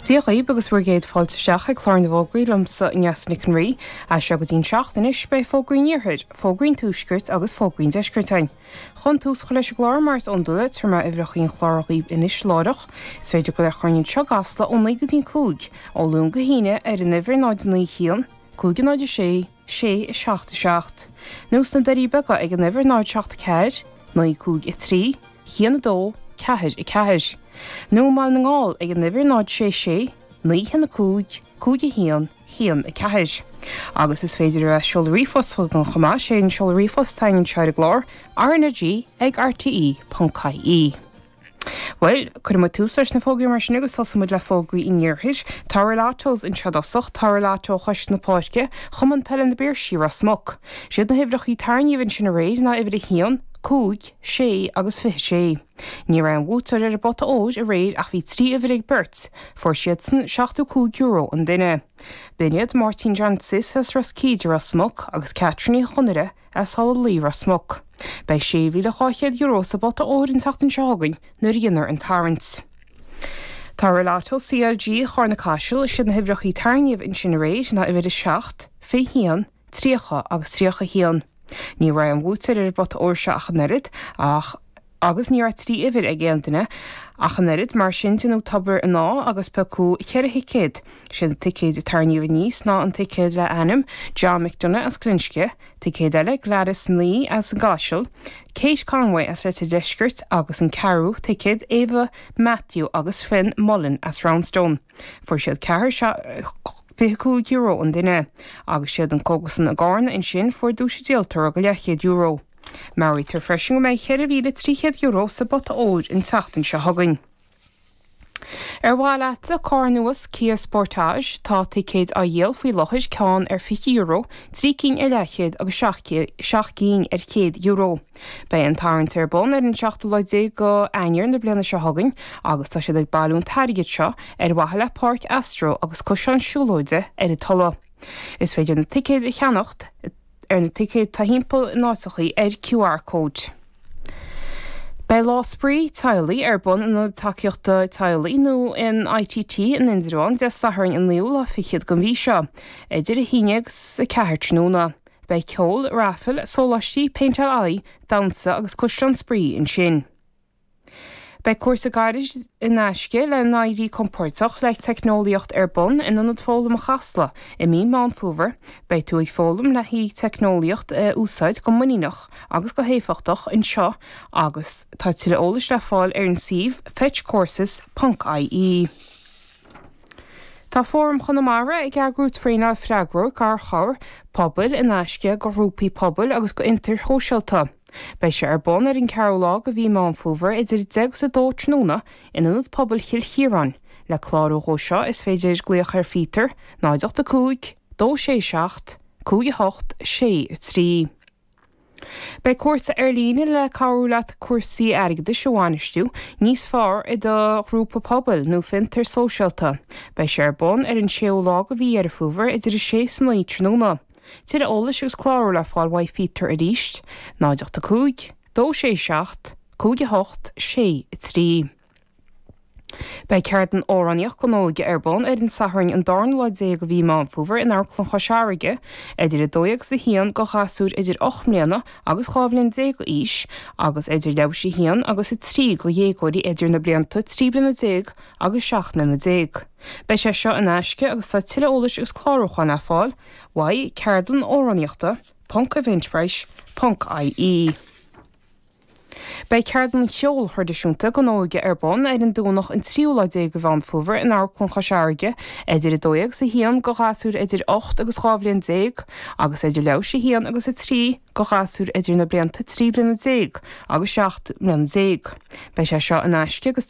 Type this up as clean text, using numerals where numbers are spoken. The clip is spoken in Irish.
Dia dhaoib agus bhur gcéad fáilte isteach ag clár na bhfógraí liomsa, Neasa Nic an Rí. As seo go dtí'n seacht anois, beidh fógraí an Iarthair, fógraí an Tuaiscirt agus fógraí an Deiscirt againn. Chun tús a chur leis an gclár, mar is iondúil, tabharfaidh mé uimhreacha an chláir dhaoib anois láithreach. Is féidir glaoch orainn anseo i gCasla ó 9 go dtí'n 5, ó Luan go hAoine, ar an uimhir 0 9 1, 5 0 6 6 7 7, nó sna Doirí Beaga ag an uimhir 0 7 4, 9 5 3, 1 2, 4 4, nó i mBaile na nGall ag an uimhir 0 6 6, 9 1 5, 5 1, 1 4. Agus is féidir a seoladh ríomhphost chugainn chomh maith, sé an seoladh ríomhphost atá againn anseo ar an gclár, RnaG ag rte ponc ie. Bhuel, cuirfidh muid tús leis na fógraí mar sin agus tosóidh muid le fógraí an Iarthair. Tá Rolottos anseo i dtosach, tá Rolotto Chois na Páirce, Chumann Peile na bPiarsaigh, Ros Muc. Siad na huimhreachaí tarraingíodh ansin aréir ná uimhir 1, 5, 6 agus 26. Ní raibh aon bhuaiteoir ar an bpota óir aréir ach bhí 3 uimhir ag beirt, fuair siadsan €75 an duine. B'in iad Máirtín John Sis as Ros Cíde, Ros Muc agus Catherine Ní Chonaire as Halla Luí, Ros Muc. Beidh €6,200 sa bpota óir an tseachtain seo chugainn nuair a dhéanfar an tarraingt. Tá Rolotto CLG Charna Caiseal, is iad na huimhreachaí tarraingíodh ansin aréir ná uimhir 7, 21, 30 agus 31. Ní raibh aon bhuaiteoir ar an bpota óir seo ach an oiread, ach agus ní raibh 3 uimhir ag aon duine ach an oiread, mar sin déanadh tobar an ádh agus piocadh cheithre thicéad. Siad na ticéid a tarraingíodh aníos ná an ticéad le ainm John McDonagh as Glinsce, ticéad eile Gladys Ní as an gCaiseal, Kate Conway as Leitir Deiscirt agus an ceathrú ticéad Ava Matthew agus Finn Mullen as Roundstone. Fuair siad ceathrar €25 an duine. Agus siad an cógaslann i gCarna ansin fuair duais an díoltóra go leathchéad euro. Meabhraítear freisin go mbeidh €4,300 sa bpota óir an tseachtain seo chugainn. Ar mhaith leatsa carr nua Kia Sportage? Tá ticéid á dhíol faoi láthair, ceann ar €20, 3 cinn ar leathchéad agus 7 gcinn ar €100. Beidh an tarraingt ar bun ar an seachtú lá déag go Eanáir na bliana seo chugainn agus tá siad ag bailiú an t-airgead seo ar mhaithe le Páirc Astro agus coiseán siúlóide ar an Tulaigh. Is féidir na ticéid a cheannacht ar na ticéid atá thimpeall in áiteachaí ar QR cóid. Beidh Lá Spraoi Teaghlaigh ar bun in Ionad Tacaíochta Teaghlaigh nó in ITT in Indreabhán Dé Sathairn an naoú lá fichead den mhí seo, idir 1 agus 4 tráthnóna. Beidh ceol, raifil, sóláistí, péinteáil aghaidh, damhsa agus caisleán spraoi ansin. Beidh cúrsa gairid in aisce le n-éirí compordach le teicneolaíocht ar bun in Ionad Foghlama Chasla i mí Meán Fómhair. Beidh tú ag foghlaim le haghaidh teicneolaíocht a úsáid go muiníneach agus go héifeachtach anseo agus tá tuilleadh eolais le fáil ar an suíomh fetchcourses ponc ie. Tá Fóram Chonamara ag eagrú traenáil freagróir garchabhair pobail in aisce go ghrúpaí pobail agus go fhiontair shóisialta. Beidh sé ar bun ar an 4ú lá de mhí Meán Fómhair idir 10 agus 2 tráthnóna in Ionad Pobail Chill Chiaráin. Le clárú dhó seo is féidir glaoch ar Phíotar, 0 8 5 2 6 7 5 8 6 3. Beidh cúrsa ar líne le cabhrú leat cúrsaí airgeadais a bhainistiú níos fearr i do ghrúpa pobail nó fiontar sóisialta. Beidh sé ar bun ar an 6ú lá de mhí Dheireadh Fómhair idir 6 is 9 tráthnóna. Tuilleadh eolais agus clárú le fáil uaidh Phíotar arís, 0 8 5 2 6 7 5 8 6 3. Beidh ceardlann amhránaíocht don óige ar bun ar an Satharn an darna lá déag de mhí Meán Fómhair in Amharclann Chois Fharraige idir 12 agus 1 do ghasúir idir 8 mbliana agus 12 bhliain d'aois agus idir leathuair théis 1 agus 3 do dhéagóirí idir na blianta 13 bliana agus 17 mbliana. Beidh sé seo in aisce agus tá tuilleadh eolais agus clárúcháin le fáil uaidh ceardlann amhránaíochta ponc eventbrite ponc ie. Beidh ceardlann cheoil thraidisiúnta don óige ar bun ar an Domhnach an tríú lá déag de Mheán Fómhair in Amharclann Chois Fharraige idir 12 agus 1 do ghasúir idir 8 agus 12 bhliain agus idir leathuair théis 1 agus 3 do ghasúir idir na blianta 13 bliana agus 17 mbliana. Beidh sé seo in aisce agus.